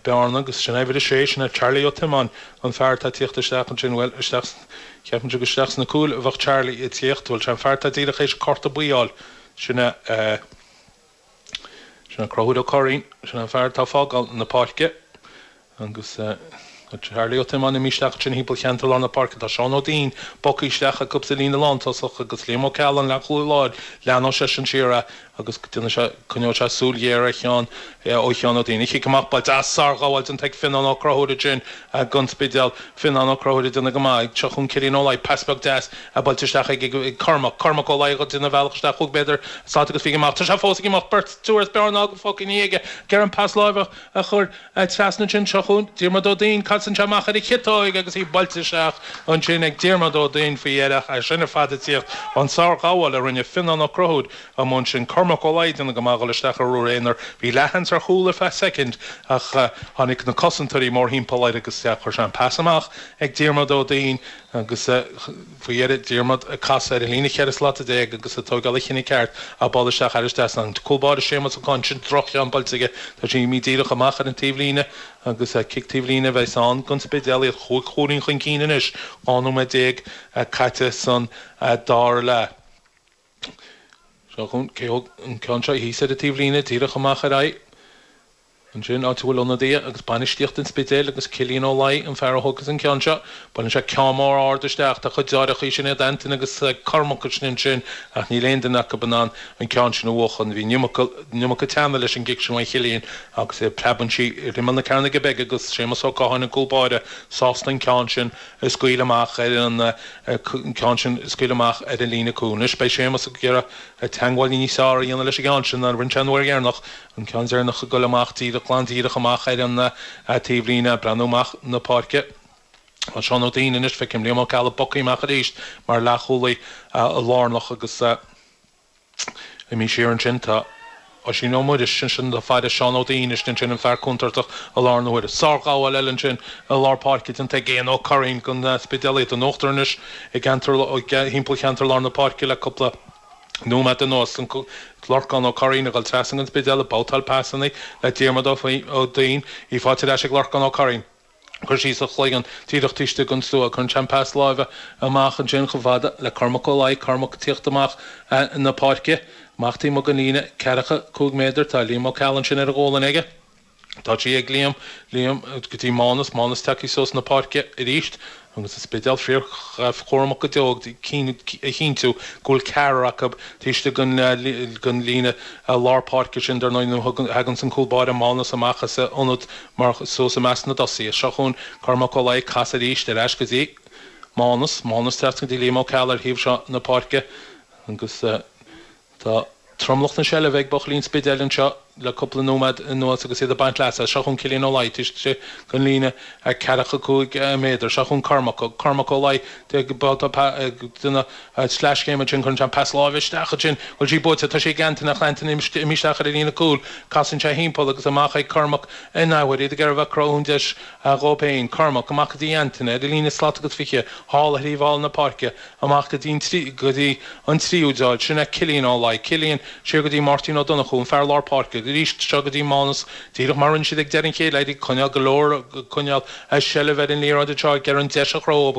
Bearna agus sin é uimhir a sé, sin é Charlie Ó Tiomáin, an fear atá ag tíocht isteach ansin, bhuel, isteach, cheapfainnse gur isteach sna cúil a bheadh Charlie ag tíocht, bhuel, sé an fear atá díreach théis cárta buí a fháil, sin é, sin é Conchúr Ó Curraoin, sin é an fear atá ag fágáil na páirce. Agus tá Charlie Ó Tiomáin imithe isteach ansin thimpeall cheantar lár na páirce. Tá Seán Ó Duinn bogtha isteach acu sa líne lántosach agus Liam Ó Ceallaigh, an leathchúlaí láir, leanfaidh seisean siar é agus déanfaidh sé, coinneoidh sé súil ghéar ar Sheán, ó Sheán Ó Duinn. An chic amach buailte as, sárghabháil déanta ag Fionnán Ó Conchúir ansin don Spidéal. Fionnán Ó Conchúir ag déanamh go maith. Seo chugainn Cillian Ó Laoi, pas beag deas buailte isteach ag Cormac. Cormac Ó Laoi ag déanamh a bhealach isteach 5 mhéadar slat agus fiche amach. Tá sé fós ag imeacht, beirt, triúr as Bearna fágtha ina dhiaidh aige. Ag iarraidh an pas láimhe a chur. Trasna ansin, seo chugainn Diarmuid Ó Duinn, casann sé amach ar a chiotóig agus í buailte isteach ansin ag Diarmuid Ó Duinn faoi dheireadh. É sin ar fad ag tíocht ón sárghabháil a rinne Fionnán Ó Conchúir amuigh ansin. Cormac Ó Laoi ag déanamh go maith a dhul isteach ar ruathar aonair. Bhí leathsheans ar chúl ar feadh soicind ach tháinig na cosantóirí mórthimpeall air agus chuir sé an pas amach ag Diarmuid Ó Duinn agus faoi dheireadh Diarmuid ag casadh ar an líne 14 slat agus ag tógáil an chinnidh ceart ach bualadh isteach thairis trasna. An cúl báire Séamus Ó Cadhain, sin droch-cheann buailte aige. Tá sí imithe díreach amach ar an taobhlíne agus cic taobhlíne a bheas ann don Spidéal. Iad chúig chúilín chun cinn anois, 12 nóiméad caite san dara leath. Seo chugainn cé thóg an ceann seo thíos ar an taobhlíne díreach amach ar aghaidh. Ansin, áit a bhfuil ionadaithe agus bainistíocht an Spidéil agus Cillian Ó Laoi, an fear a thógas an ceann seo. Buaileann sé ceann mór ard isteach. Tá cuid deartháireacha, sin iad Antain agus Cormac ansin ansin ach níl aon duine acu in ann an ceann sin a bhuachan. Bhí an iomarca, an iomarca teanna leis an gcic sin uaidh Chillian agus preabann sí ar imeall na cearnóige beige agus Séamus Ó Catháin, an cúl báire, sásta an ceann sin a scaoileadh amach ar an, an ceann sin a scaoileadh amach ar an líne cúil. Anois beidh Séamus ag iarraidh teagmháil níos fearr a dhéanamh leis an gceann sin ná a rinne sé an uair dheireanach. An ceann deireanach ag dul amach díreach, glan díreach amach ar an taobhlíne, breathnú amach na páirce. Tá Seán Ó Duinn anois, feicim Liam Ó Ceallaigh bogtha amach arís mar leathchúlaí lárnach agus imithe siar ansin tá Oisín Ó Muiris, ansin ag faire Seán Ó Duinn istigh ansin, an fear contúirteach i láthair na huaire. Sárghabháil eile ansin i lár páirce déanta ag Éanna Ó Curraoin don Spidéal, iad in uachtar anois i gceantar, thimpeall cheantar lár na páirce le cúpla Nóiméad anuas, Lorcán Ó Curraoin ag dul trasna don Spidéal ag babhtáil pasanna le Diarmuid Ó Duinn, í faighte ar ais ag Lorcán Ó Curraoin. Cur síos a chloigeann díreach taobh istigh den stua. Cuireann sé an pas láimhe amach ansin chomh fada le Cormac Ó Laoi. Cormac ag tíocht amach na páirce. Amach taobh amuigh den líne, ceathracha 5 méadar. Tá Liam Ó Ceallaigh ansin ar a ghualainn aige. Tá sí ag Liam, Liam go dtí Mánas, Mánas tagtha suas na páirce arís agus an Spidéal fíorchúramach go deo ag cinntiú go bhfuil ceathrar acu taobh istigh den líne lár páirce sin dar ndóigh nuair a thaganns an cúl báire Mánas amach as a ionad mar suas i measc na dtosaithe. Seo chugainn Cormac Ó Laoi ag casadh arís ar ais go dtí Mánas, Mánas trasna go dtí Liam Ó Ceallaigh ar thaobh seo na páirce agus Tá tromlach na seilbhe ag buachaillí an Spidéil anseo le cúpla nóiméad anuas agus iad ag baint leasa as. Seo chugainn Cillian Ó Laoi taobh istigh den líne 45 méadar. Seo chugainn Cormac. Cormac Ó Laoi ag déanamh sleaschéim ansin. Cuireann sé an pas láimhe isteach ansin. Bhfuil sí buaite? Tá sí ag Antaine ach Antaine imithe isteach ar an líne cúil. Casann sé thimpeall agus amach ag Cormac in athuair. Iad ag iarraidh a bheith ag cruthú an deis dhóibh féin. Cormac amach go dtí Antaine ar an líne slat agus 20 thall ar thaobh thall na páirce. Amach go dtí an go dtí an tríú deoil. Sin é Cillian Ó Laoi. Cillian, siar go dtí Máirtín Ó Donnchú, an fear lár páirce. Arís seo go dtí Mánas, díreach mar a rinne siad ag deireadh an chéad leath, ag coinneáil go leor, ag coinneáil seilbh ar an liathróid anseo, ag iarraidh an deis a chruthú.